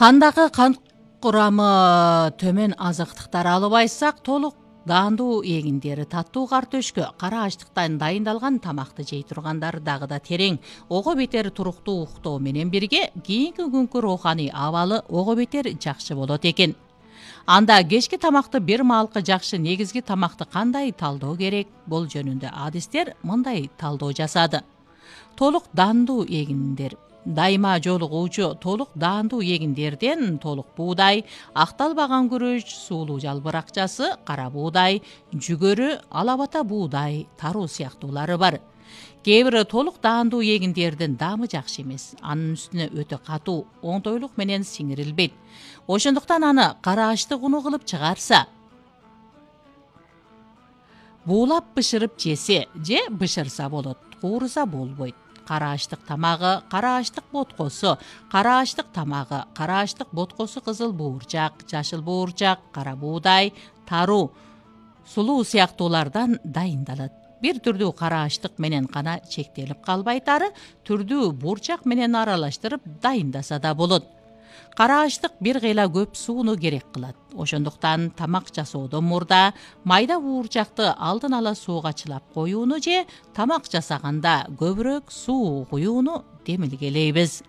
Кандагы кан курамы төмөн азыктыктар алып айтсак, толук даандуу эгиндер, таттуу картөшкө, кара ачтыктан дайындалган тамакты жей тургандар дагы да терең, ого бетер туруктуу уктоо менен бирге кийинки күnkү рооханий абалы ого бетер жакшы болот экен. Анда кечки тамакты бир маалкы жакшы негизги тамакты кандай талдоо керек? Бул жөнүндө адистер мындай талдоо жасады. Толук даандуу эгиндер дайыма жолугуучу толук даандуу эгиндерден толук буудай, акталбаган күрөч, суулуу жалбыр акчасы, кара буудай, жүгөрү, алабата буудай, таруу сыяктуулары бар. Кээ бири толук даандуу эгиндердин даамы жакшы эмес. Анын үстүнө өтө катуу, оңтойлук менен сиңирилбейт. Ошондуктан аны кара ачтык уну кылып чыгарса, буулап бышырып жесе же бышырса болот, кууруса болбойт. Кара ачтык тамагы, кара ачтык боткосу, кара ачтык тамагы, кара ачтык боткосу кызыл буурчак, жашыл буурчак, кара буудай, таруу, сулуу сыяктуулардан дайындалат. Бир түрдүү кара ачтык менен гана чектелип калбайт, ары түрдүү буурчак менен аралаштырып дайындаса да болот. Кара ачтык бир кыйла көп сууну керек кылат. Ошондуктан тамак жасоодон мурда майда буурчакты алдын ала сууга чылап коюуну же тамак жасаганда көбүрөөк суу куюуну демилгелейбиз.